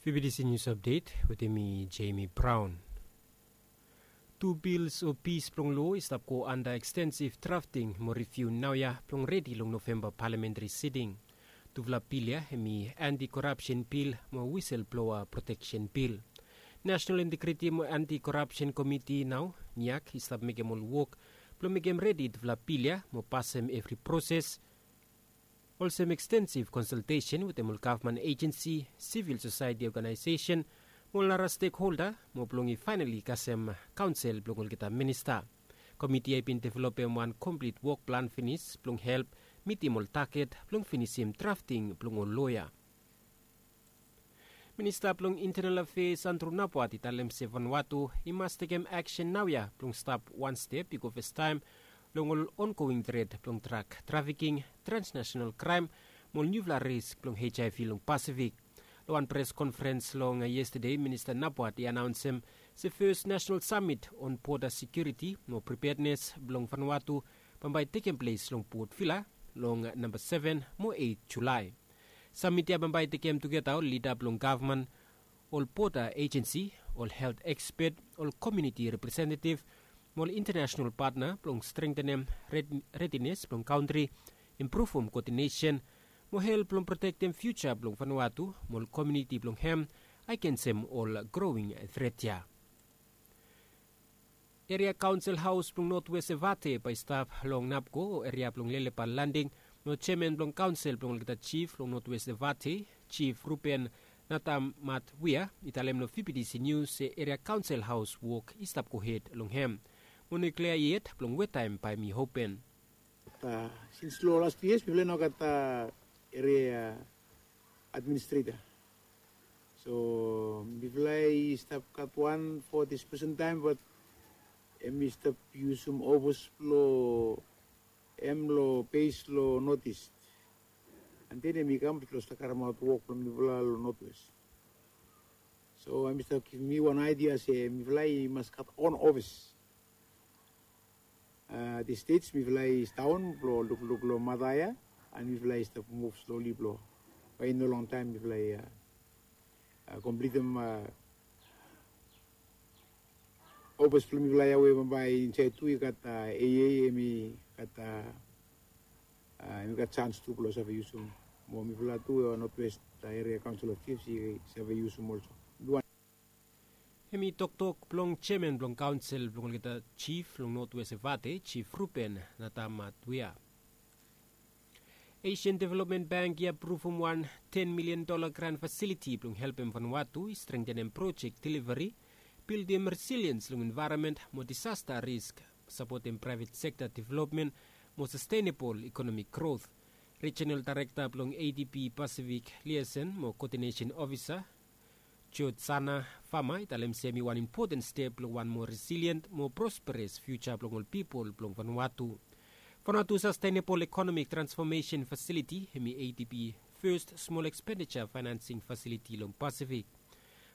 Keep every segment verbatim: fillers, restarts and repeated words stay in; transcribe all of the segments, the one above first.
Bibidisi nius apdet wetem mi, Jemi Braon. Tu bils o pis blong loa i stap go anda ekstensif drafting mo riviu naoia blong redi long Novemba palamentari siting. Tufala bil ya hem i anti korapsen bil mo wisel bloa proteksen bil. Nasenal Integriti mo Anti Korapsen Komiti nao, niak, i stap mekem ol wok blong mekem redi tufala bil ya mo pasem evri proses, olsem ekstensif konsaltesen wetem ol gavman ejensi, sivil sosaeti oganaesesen, mo ol nara stekholda, mo blong i faenali kasem kaonsel blong olgeta minista. Komiti ya i bin developem wan komplit wok plan finis blong help mitim ol taget blong finisim drafting blong ol loa ya. Minista blong Intenal Afeas Andru Napuat i talem se Vanuatu i mas tekem aksen naoia blong stap wan step i go fastaem long ol ongoing tret blong drag trafiking, transnasenal kraem, mo ol niufala risk blong HIV long Pasifik. Long wan pres konferens long yestade, Minista Napuat i anaonsem se fes nasenal samit on boda sekiuriti mo pripednes blong Vanuatu bambae i tekem ples long Port Vila long namba seven mo eit Julae. Samit ya bambae i tekem tugeta ol lida blong gavman, ol boda ejensi, ol helt ekspet, ol komuniti representetiv, mo ol intanasenal patna blong strengtenem redines blong kantri, impruvum koodinesen, mo help blong protektem fiuja blong Vanuatu mo ol komuniti blong hem agensem ol growing tret ya. Eria Kaonsel Haos blong Notwes Evate bae i stap long Napko o eria blong Lelepa Landing, mo jeaman blong kaonsel blong olgeta jif long Notwes Evate, Jif Ruben Natamatwia, i talem long Vibidisi Nius se Eria Kaonsel Haos wok i stap gohed long hem. Mo no i klia yet blong wetaem bae hem i open. Sins long las tu yias mifala i no gat eria administreta. So mifala i stap gat wan fo dis presen taem, bat hem i stap yusum ofis blong hem long bes long Notis. An den hem i kam blong stap karemaot wok blong mifala long Notwes. So hem i stap givim mi wan aidia se mifala i mas gat on ofis. Dis stej mifala i sidaon blong lukluk long mata ya, an mifala i stap muv sloli blong bae i no longtaem mifala i komplitim ofis blong mifala ya we bambae insaed tu i gat AA, hem i gat hem i gat jans tu blong save yusum. Mo mifala tu Notwes Eria Kaonsel of Jifs i save yusum olso. Hem i toktok blong jeaman blong kaonsel blong olgeta jif long Notwes Evate, Jif Ruben Natamatwia. Asian Development Bank i apruvum wan ten milian dola gran fasiliti blong helpem Vanuatu i strengtenem projek deliveri, bildim resiliens long envaeronmen mo disasta risk, sapotem praevet sekta developmen mo sastenebol ekonomik grot. Rijinal daerekta blong ADB Pasifik Liason mo Koodinesen Ofisa, George Sana Fama, i talem se hem i wan impoten step long wan moa resilien mo prosperes fiuja blong ol pipol blong Vanuatu. Vanuatu Sastenebol Ekonomik Transfomesen Fasiliti hem i ADB fes smol ekspendija faenansing fasiliti long Pasifik.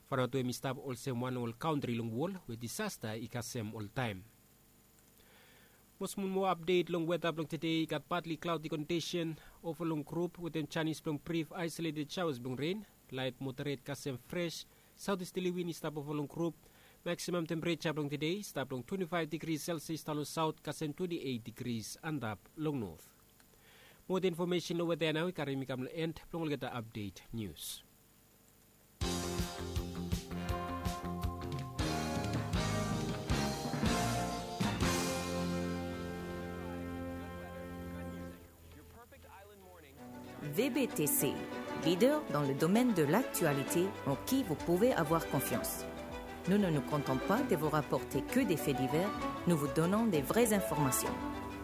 Vanuatu hem i stap olsem wan long ol kantri long wol we disasta i kasem oltaem. Mo smol moa apdet long weta blong tede. I gat patli klaodi kondisen ova long grup wetem janis blong brif aesoleted saoas blong ren, laet moderet kasem fres saotisteli win i stap ova long grup. Maksimam tempereja blong tede i stap long twenti faef digri selsias daon long saot kasem twenti eit digri antap long not. Moa infomesen long weta ya nao i karim mi kam long en blong olgeta apdet nius. VBTC, leader dans le domaine de l'actualité en qui vous pouvez avoir confiance. Nous ne nous contentons pas de vous rapporter que des faits divers, nous vous donnons des vraies informations.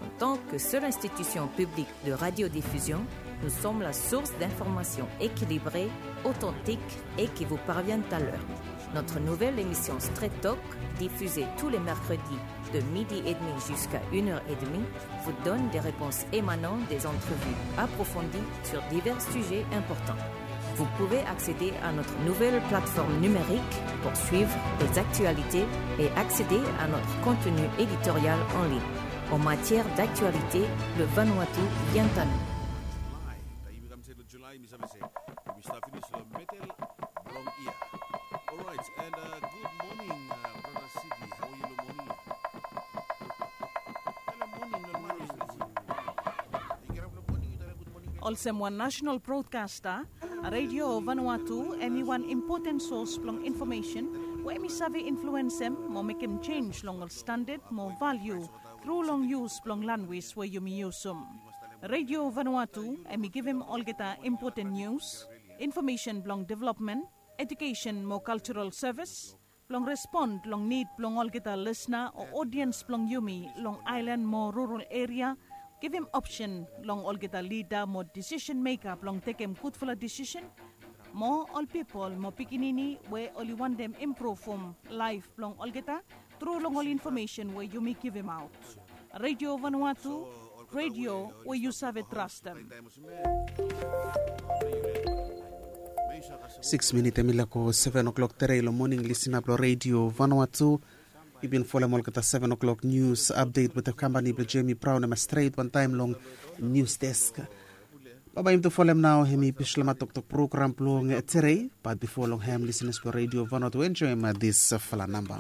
En tant que seule institution publique de radiodiffusion, nous sommes la source d'informations équilibrées, authentiques et qui vous parviennent à l'heure. Notre nouvelle émission Straight Talk, diffusée tous les mercredis de midi et demi jusqu'à une heure et demie, vous donne des réponses émanant des entrevues approfondies sur divers sujets importants. Vous pouvez accéder à notre nouvelle plateforme numérique pour suivre les actualités et accéder à notre contenu éditorial en ligne. En matière d'actualité, le Vanuatu vient à nous. July, taem i kam set long July, mi save se yumi stap finis long medel blong yia. Olsem wan nasenal brodkasta, Redio Vanuatu em i wan impoten sos blong infomesen we em i save influensem mo mekem jenj long ol standad mo valiu tru long yus blong lanwis we yumi yusum. Redio Vanuatu em i givim olgeta impoten nius, infomesen blong developmen, ejukesen mo kaltsaral sevis, blong respon long nid blong olgeta lisna o odiens blong yumi long aelan mo rural eria, givim opsen long olgeta lida mo disisen meka blong tekem gudfala disisen, mo ol pipol mo pikinini we oli wantem impruvum laef blong olgeta tru long ol infomesen we yumi givimaot. Redio Vanuatu, redio we yu save trastem. Siks minit em i lako seven o'clock tere long moning, lisina blong Redio Vanuatu. I bin folem olgeta seven o'clock nius apdet wetem kampani blong Jemi Braun em stret wantaem long nius desk. Bambae yumi tu folem nao hem i Bislama Toktok program blong tere. Bat bifo long hem, lisinas blong Redio Vanuatu, enjoem disfala namba.